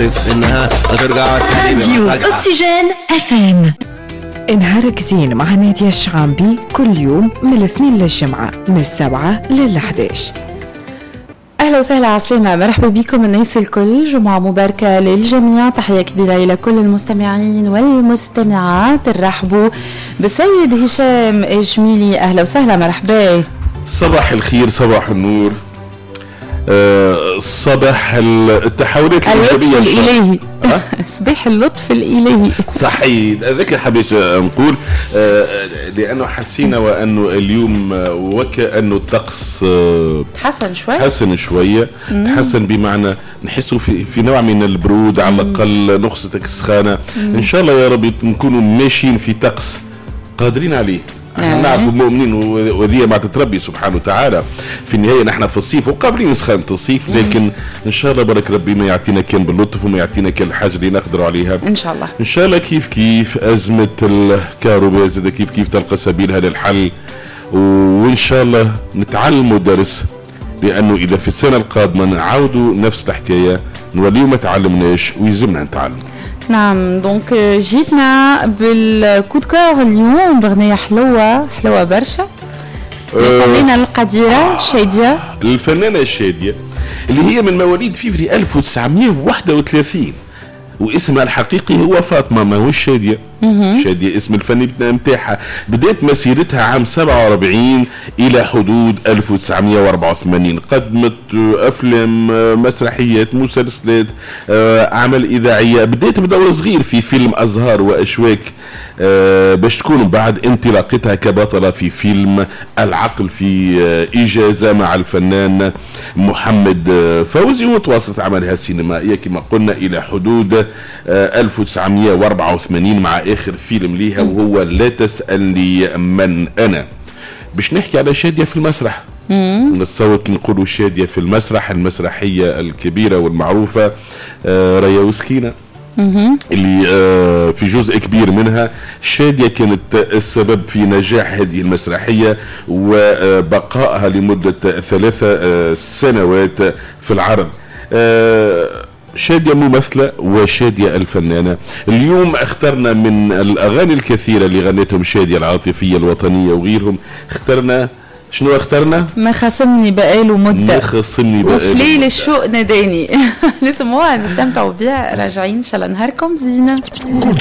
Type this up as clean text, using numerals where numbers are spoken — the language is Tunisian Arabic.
انها ترجع تاني راديو بمزاجها. اكسجين FM. نهارك زين مع نادية الشعامبي كل يوم من الاثنين للجمعة من 7 لل11. اهلا وسهلا، عسلامة، مرحبا بكم الناس الكل، جمعة مباركة للجميع، تحية كبيرة الى كل المستمعين والمستمعات. نرحبوا بالسيد هشام الجميلي، اهلا وسهلا، مرحبا. صباح الخير، صباح النور، صباح التحولات اللطف الايجابيه إن شاء الله. الالهي، صباح اللطف الالهي. صحيح، هذاك حبيت نقول لانه حسينا وانه اليوم وكانه الطقس تحسن شوي. تحسن شويه، تحسن بمعنى نحسوا في نوع من البرود، على الاقل نقصت السخانه. ان شاء الله يا رب نكونوا ماشيين في طقس قادرين عليه. احنا نعرفوا مؤمنين وذي ما تتربي سبحانه وتعالى. في النهاية نحن في الصيف وقابلين سخانه الصيف، لكن ان شاء الله بارك ربي ما يعطينا كان باللطف وما يعطينا كان الحاجة اللي نقدروا عليها. ان شاء الله. ان شاء الله. كيف كيف ازمة الكهرباء زاد كيف كيف تلقى سبيلها للحل، وان شاء الله نتعلموا درس، لانه اذا في السنة القادمة نعاودوا نفس الحكاية نوليو ما تعلمناش، ويلزمنا نتعلم. نعم، donc جيتنا بال coup de cœur اليوم بغنية حلوة حلوة برشا، الفنانة القديرة شادية. الفنانة الشاديه اللي هي من مواليد فيفري 1931، واسمها الحقيقي هو فاطمه، ماهوش شاديه. شاديه اسم الفني نتاعها. بدأت مسيرتها عام 47 الى حدود 1984، قدمت افلام، مسرحيات، مسلسلات، اعمال اذاعيه. بدأت بدور صغير في فيلم ازهار واشواك، باش تكون بعد انطلاقتها كبطله في فيلم العقل في اجازه مع الفنان محمد فوزي. وتواصلت اعمالها السينمائية كما قلنا الى حدود 1984 مع اخر فيلم ليها وهو لا تسالني من انا. باش نحكي على شاديه في المسرح، نتصور كي نقولوا شاديه في المسرح، المسرحية الكبيرة والمعروفة ريا وسكينه، اللي في جزء كبير منها شادية كانت السبب في نجاح هذه المسرحية وبقائها لمدة 3 سنوات في العرض. شادية ممثلة وشادية الفنانة. اليوم اخترنا من الأغاني الكثيرة اللي غنتهم شادية، العاطفية، الوطنية وغيرهم، اخترنا شنو اخترنا؟ ما خصمني بقاله مدة. ما خصمني بقاله وفي ليل مدة. الشوق ناداني. نسمعوها، نستمتعوا بها، راجعين. ان شاء الله نهاركم زينة. coup de